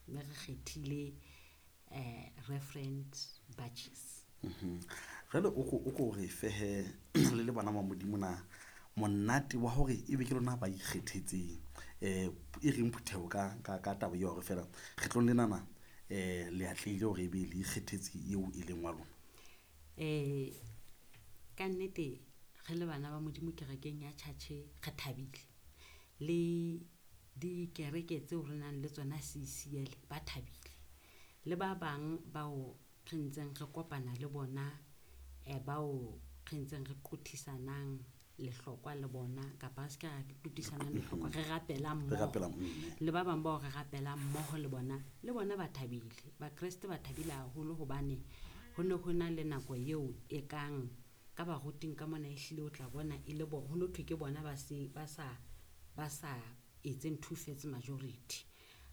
Mme re kgethile Reverend Batches. Jwale o ko re fehe le le bana ba Modimo na monate wa hore ebe ke lona ba ikgethetseng e reng phutheho ka taba eo hore feela kgetlong lenana le atlehile hore ebe le ikgethetse eo e leng wa lona. Ka nnete re le bana ba Modimo kerekeng ya church re thabile le dikereke tseo re nang le tsona CCL ba thabile le ba bang bao re ntseng re kopana le bona bao re ntseng re qothisanang lehlokwa le bona kapa re se ke ra qothisanang lehlokwa re rapelang Re mmoho rapelang mme. Le ba bang bao re rapelang mmoho le bona ba thabile. Bakreste ba thabile haholo hobane ho ne ho na le nako eo e kang ka baruting ka mona ehlile o tla bona e le bo ho no thwe ke bona ba se ba sa ba sa etseng two thirds majority.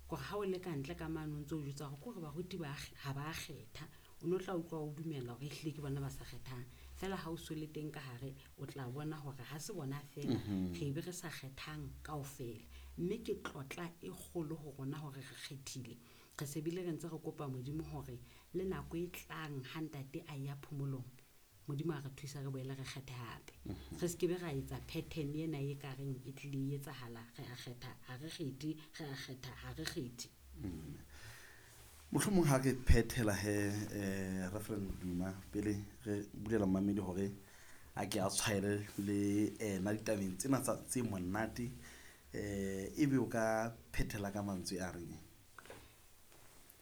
Kore ha o le ka ntle ka mane o ntso o jwetsa hore ke hore baruti ba ha ba kgetha o no tla utlwa o dumela hore ehlile ke bona ba sa kgethang. Feela ha o so le teng ka hare o tla bona hore ha se bona feela re be re sa kgethang kaofela. Mme ke tlotla e kgolo ho rona hore re kgethile. Re se bile re ntse re kopa Modimo hore le nako e tlang ha ntate a ya phomolong Modimo a re thusa re boele re kgethe hape. Re se ke be ra etsa pattern ena e ka reng e tlile e etsahala re a kgetha ha re kgethe re a kgetha ha re kgethe. Mohlomong ha re phethela he Reverend Duma pele re bulela mmamedi hore a ke a tshwaele le ena ditabeng tsena tsa tse monate ebe o ka phethela ka mantswe a reng?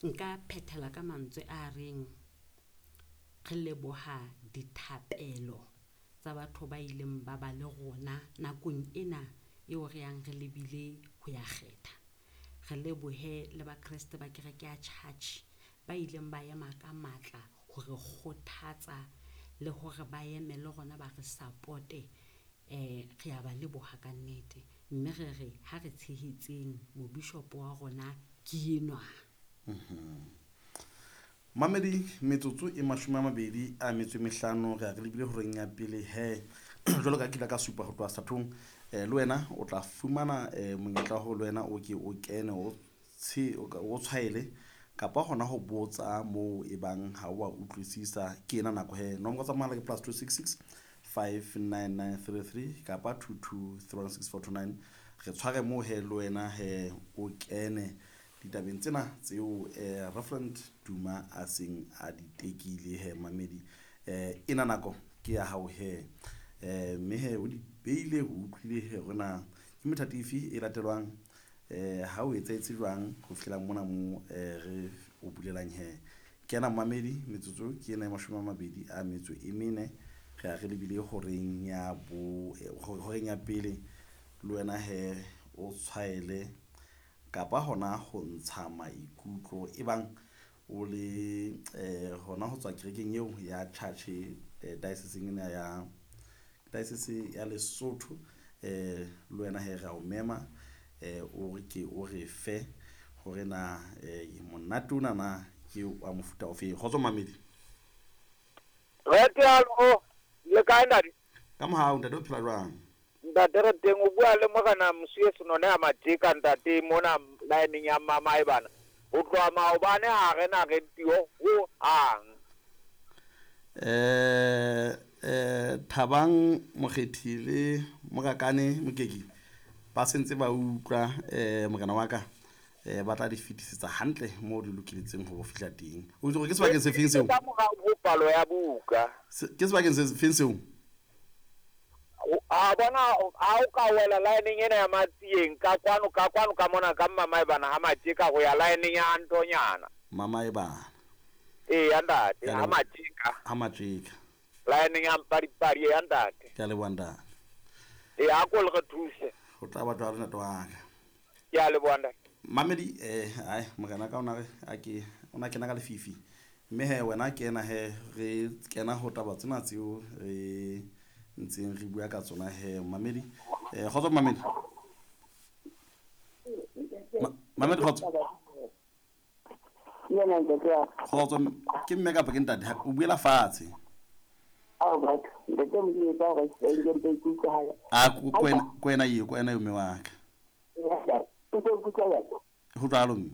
Nka phethela ka mantswe a reng re leboha dithapelo tsa batho ba ileng ba ba le rona nakong ena eo re yang re lebile ho ya kgetha. Re lebohe le bakreste ba kereke ya church ba ileng ba ema ka matla ho re kgothatsa le hore ba eme le rona ba re support-e. Re a ba leboha ka nnete. Mme re re ha re tshehetseng mobishopo wa rona ke enwa. Mamedi metsotso e 25 re a re lebile horeng ya pele he jwalo ka kile ka supa ho tloha sethathong le wena o tla fumana monyetla wa hore le wena o ke o kene o o tshwaele kapa hona ho botsa moo e bang ha o a utlwisisa ke ena nako he. Nomoro tsa mohala ke +266 59933 kapa 22316429. Re tshware moo he le wena he o kene ditabeng tsena tseo Reverend Duma a seng a di tekile he mamedi. Ena nako ke ya hao he. Mme he o di beile o utlwile he hore na ke methati efe e latelwang ha o etsahetse jwang ho fihlela mona mo re o bulelang he. Kena mamedi metsotso ke ena e 24 re a re lebile horeng ya bo horeng ya pele le wena he o tshwaele kapa hona ho ntsha maikutlo e bang o le hona ho tswa kerekeng eo ya church diocese ena ya diocese ya Lesotho le wena he re a o mema o re ke o re fe hore na monate ona na ke wa mofuta ofe. Kgotso mamedi. Re teng le kae ntate? Ka mohau ntate o phela jwang? Ntate re teng o bua le morena Mosiuwe Senone a Matjeka ntate mona line ya Mamaebana. Ho tloha maobane ha re na radio ho hang. Thabang Mokgethi le Morakane Mokeki ba sentse ba utlwa morena wa ka ba tla di fetisetsa hantle moo di lokiletseng ho fihla teng. O itse hore ke sebakeng se feng seo? Ka morao ho palo ya buka. Ke sebakeng se feng seo? A bona ha o ka wela line ena ya Matsieng ka kwano ka kwano ka mona ka Mamaebana ha Matjeka ho ya line ya Antonyana. Mamaebana. Ee ya ntate ha Matjeka. Ha Matjeka. Line ya Mpadipadi ya ntate. Ke a leboha ntate. Ee a ko le re thuse. Ho tla ba jwalo ntate wa ka. Ke a leboha ntate. Mamedi ai morena ka ona re a ke ona kena ka lefifi. Mme he wena kena he re kena ho taba tsena tseo re ntseng re bua ka tsona he mamedi. Kgotso mamedi. Mamedi kgotso. Yena ntate wa. Kgotso ke mme kapa ke ntate o buela fatshe. Ao batho ntate Modimo etsa hore ke nke mpe ke utlwahala. A ko wena eo mme wa ka. O tlo nkutlwa jwang? Ho jwalo mme.